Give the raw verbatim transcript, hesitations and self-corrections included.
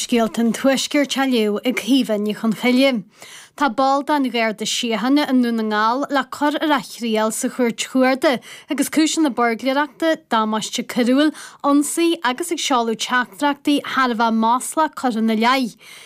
Scéalta an Tuaiscirt á léamh ag Caoimhe Ní Chonchoille. Tá ball den Gharda Síochána i nDún na nGall le cur ar a thriail sa chúirt chuarda agus cúiseanna buirgléireachta, damáiste coiriúil, ionsaí agus ag seoladh teachtaireachtaí thar a bheith maslach curtha ina leith.